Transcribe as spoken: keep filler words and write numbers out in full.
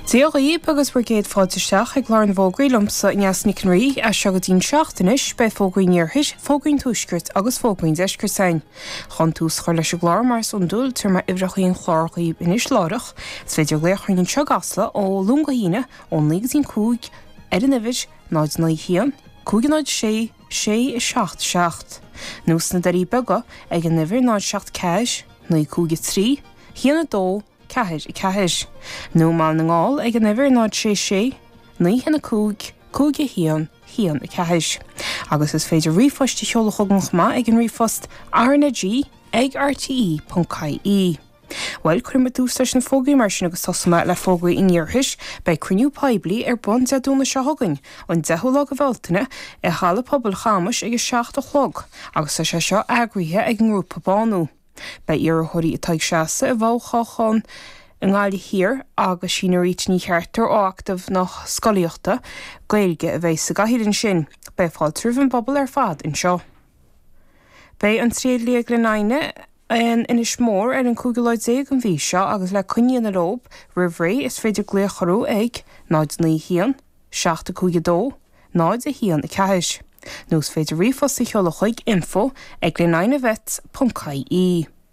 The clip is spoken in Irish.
Dia dhaoibh agus bhur gcéad fáilte isteach ag clár na bhfógraí liomsa Neasa Nic an Rí, as seo go dtí'n seacht anois, beidh fógraí an iarthair, fógraí an tuaiscirt agus fógraí an deiscirt againn. Chun tús a chur leis an gclár mar is iondúil, tabharfaidh mé uimhreacha an chláir dhaoibh anois láithreach. Is féidir glaoch orainn anseo i gCasla ó Luan go hAoine ó naoi go dtí'n cúig ar an uimhir náid naoi haon, cúig náid sé, sé a seacht seacht. Nó sna Doirí Beaga ag an uimhir náid seacht ceathair, naoi cúig a trí, haon a dó, ceathair a ceathair. Nó i mBaile na nGall ag an uimhir náid sé sé, naoi haon a cúig, cúig a haon, haon a ceathair. Agus is féidir ríomhphost a sheoladh chugainn chomh maith ag an ríomhphost RnaG ag R T E ponc I E. Bhuel, cuirfidh muid tús leis na fógraí mar sin agus tosóidh mé le fógraí an iarthair. Beidh cruinniú poiblí ar bun Dé Domhnaigh seo chugainn, an deichiú lá de Bhealtaine, i Halla Pobail Chamais ag a seacht a chlog agus tá sé seo eagraithe ag an ngrúpa Bánú. Beidh iarrthóirí atá ag seasamh i bhfothoghchán i nGaillimh Thiar agus Síne Rita Ní Cheartar ó Acadamh na Scolaíochta Gaeilge a bheidh sa gcathaoir ansin. Beidh fáilte roimh an bpobal ar fad anseo. Beidh an Triail Liath Ghleann Fhinne in Inis Mór ar an cúigiú lá déag an mhí seo agus le coinne a dhéanamh leo roimh ré is féidir glaoch orthu ag náid naoi haon, seacht a cúig a dó, náid a haon a ceathair. Nó is féidir ríomhphost a sheoladh chuig info ag glenfinevets ponc I E.